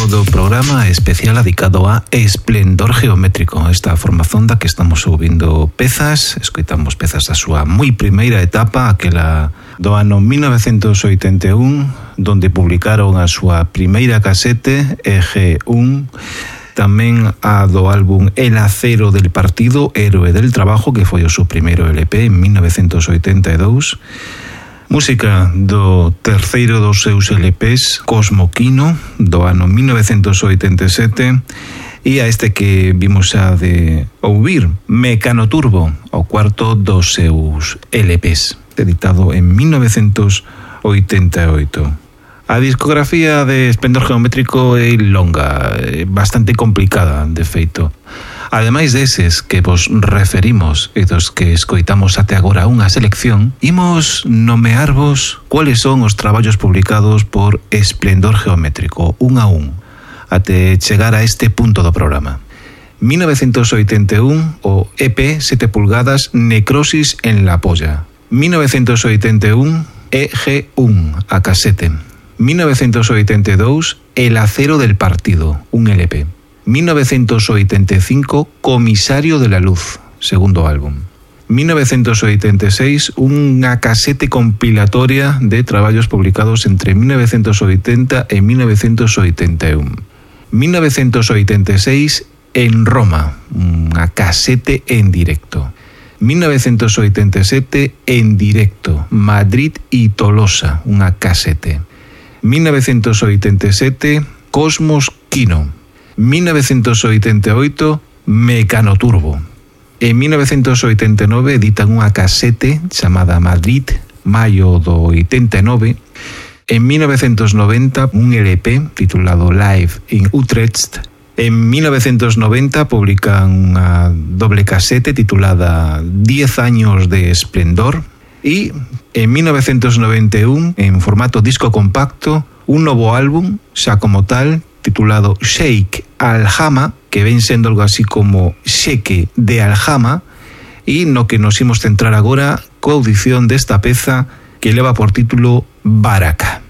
do programa especial dedicado a Esplendor Geométrico, esta formación da que estamos ouvindo pezas, escoitamos pezas da súa moi primeira etapa, aquela do ano 1981, donde publicaron a súa primeira casete, EG1, tamén a do álbum El Acero del Partido, Héroe del Trabajo, que foi o seu primeiro LP en 1982, música do terceiro dos seus LPs, Cosmo Quino, do ano 1987, e a este que vimos a de ouvir, Mecano Turbo, o cuarto dos seus LPs, editado en 1988. A discografía de Esplendor Geométrico é longa, bastante complicada, de feito. Ademais deses que vos referimos e dos que escoitamos até agora unha selección, imos nomearvos cuáles son os traballos publicados por Esplendor Geométrico, un a un, até chegar a este punto do programa. 1981, o EP 7 pulgadas, Necrosis en la polla. 1981, EG1, a casete. 1982, El Acero del Partido, un LP. 1985, Comisario de la Luz, segundo álbum. 1986, unha casete compilatoria de traballos publicados entre 1980 e 1981. 1986, En Roma, unha casete en directo. 1987, En Directo, Madrid y Tolosa, unha casete. 1987, Cosmos Quino. 1988, Mecano Turbo. En 1989 editan unha casete chamada Madrid, maio do 89. En 1990, un LP titulado Live in Utrecht. En 1990 publican unha doble casete titulada 10 años de esplendor. Y en 1991, en formato disco compacto, un novo álbum, xa como tal, titulado Sheikh Al-Hama, que ven sendo algo así como Sheque de Al-Hama, e no que nos imos centrar agora coa audición desta peza que leva por título Baraka.